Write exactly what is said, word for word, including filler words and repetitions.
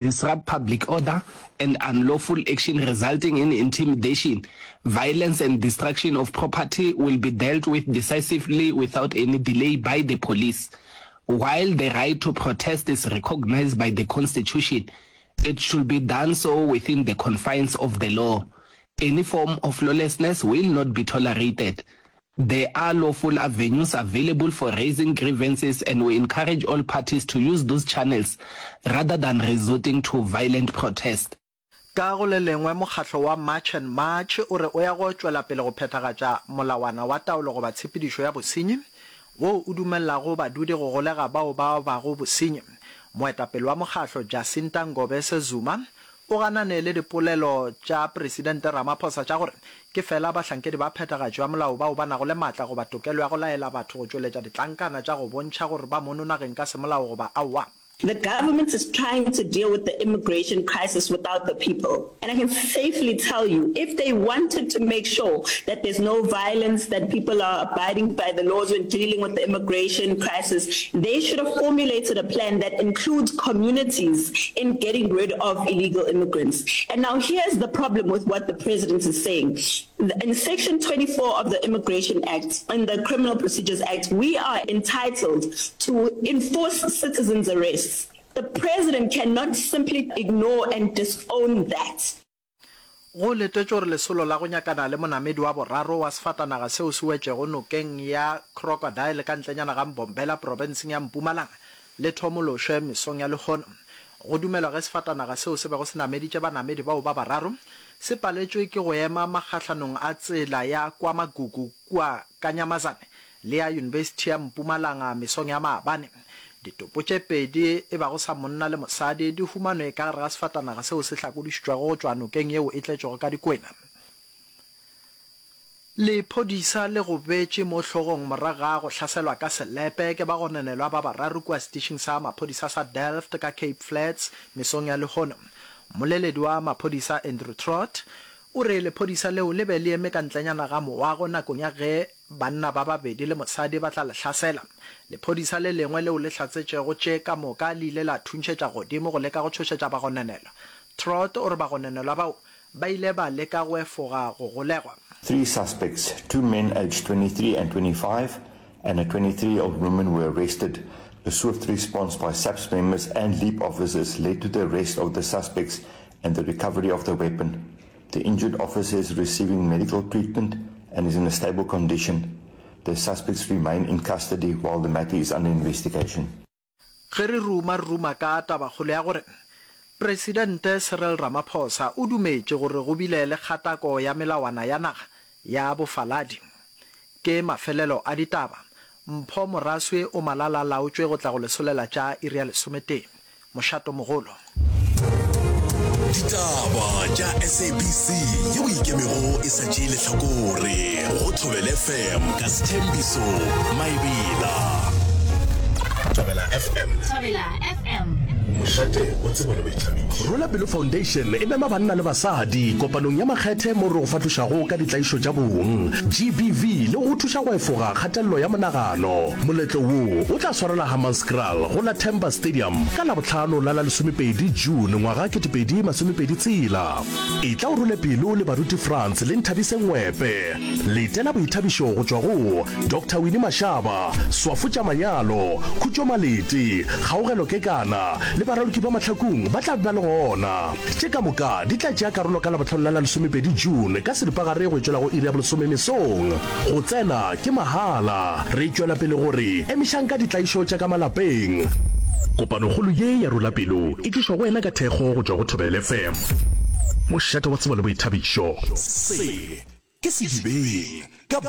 Disrupt public order and unlawful action resulting in intimidation, violence and destruction of property will be dealt with decisively without any delay by the police. While the right to protest is recognized by the constitution, it should be done so within the confines of the law. Any form of lawlessness will not be tolerated. There are lawful avenues available for raising grievances and we encourage all parties to use those channels rather than resorting to violent protest. Ka go le lengwe, mokgatlo wa March and March o re o ya go tšwela pele go phethagatša molawana wa taolo goba tshepedišo ya bosenyi woo o dumelelago badudi go golega bao ba obago bosenyi. Moetapele wa mokgatlo Jacinta Ngobese Zuma o ganane le dipolelo tša Presidente Ramaphosa tša gore ke fela bahlankedi ba phethagatšo ya molao bao ba nago le matla goba tokelo ya go laela batho go tšweletša ditlankana tša go bontšha gore ba mono nageng ka semolao goba aowa. The government is trying to deal with the immigration crisis without the people. And I can safely tell you, if they wanted to make sure that there's no violence, that people are abiding by the laws when dealing with the immigration crisis, they should have formulated a plan that includes communities in getting rid of illegal immigrants. And now here's the problem with what the president is saying. In Section twenty-four of the Immigration Act and the Criminal Procedures Act, we are entitled to enforce citizens' arrests. The president cannot simply ignore and disown that. Go letetšwe gore lesolo la go nyakana le monamedi wa boraro wa sefatanaga seo se wetšego nokeng ya Crocodile ka ntlenyana ga Mbombela profenseng ya Mpumalanga le thomološwe mesong ya lehono. Go dumelwa ge sefatanaga seo se bego se nameditše banamedi bao ba bararo se paletšwe ke go ema magahlanong a tsela ya KwaMagugu kua Kanyamazane le ya Yunibesithi ya Mpumalanga mesong ya maabane. Ditopo tše pedi, e bago sa monna le mosadi, di humanwe ka gare ga sefatanaga seo se hlakodišitšwego go tšwa nokeng yeo e tletšego ka dikwena. Lephodisa le gobetše mo hlogong morago ga go hlaselwa ka selepe ke bagononelwa ba bararo kua setišing sa maphodisa sa Delft ka Cape Flats mesong ya lehono. Mmoleledi wa maphodisa Andrew Trott o re lephodisa leo le be le eme ka ntlenyana ga moago nakong ya ge banna ba babedi le mosadi ba tla le hlasela. Lephodisa le lengwe leo le hlatsetšego tše ka moka le ile la thuntšhetša godimo go leka go tšhošetša bagononelwa. Trott o re bagononelwa bao ba ile ba leka go efoga go golegwa. Three suspects, two men aged twenty-three and twenty-five and a twenty-three-year-old woman were arrested. A swift response by SAPS members and LEAP officers led to the arrest of the suspects and the recovery of the weapon. The injured officer is receiving medical treatment and is in a stable condition. The suspects remain in custody while the matter is under investigation. Ge re ruma re ruma ka tabakgolo ya gore Presidente Cyril Ramaphosa o dumetše gore go bile le kgatako ya melawana ya naga ya bofaladi. Ke mafelelo a ditaba. Mpho Moraswi o malala-laotšwe go tla go lesolela tša iri ya lesometee. Mošatomogolo. Ditaba tša S A B C yeo e ikemego e sa tšee lehlakore go Thobela F M ka Sethembiso Maebela. Thobela F M. Thobela F M. Mošate wa tsebo le boithabišo. Rola Pelo Foundation e mema banna le basadi kopanong ya makgethe mo re go fahlošago ka ditlaišo tša bong, G B V, le go go thuša go efoga kgatelelo ya monagano. Moletlo wo o tla swarelwa Hammanskraal go la Themba Stadium ka Labohlano la la lesomepedi June ngwaga ketepedi masomepedi tshela. Etla o role pelo le baruti Frans le Nthabise Ngwepe. Letela boithabišo go tšwa go Doctor Winnie Mashaba, Swafo tša Manyalo, Khutšo Malete, Kgaogelo Kekana le baraloki ba Mahlakung ba tla be ba le gona. Tše ka moka di tla tšea karolo ka Labohlano la la lesomepedi June ka seripagare go tšwela go iri ya bolesome mesong. Go tsena ke mahala. Re tšwela pele gore emišang ka ditlaišo tša ka malapeng. Kopanokgolo ye ya Rola Pelo e tlišwa go wena ka thekgo go tšwa go Thobela F M, mošate wa tsebo le boithabišo. Se ke Sedibeng ka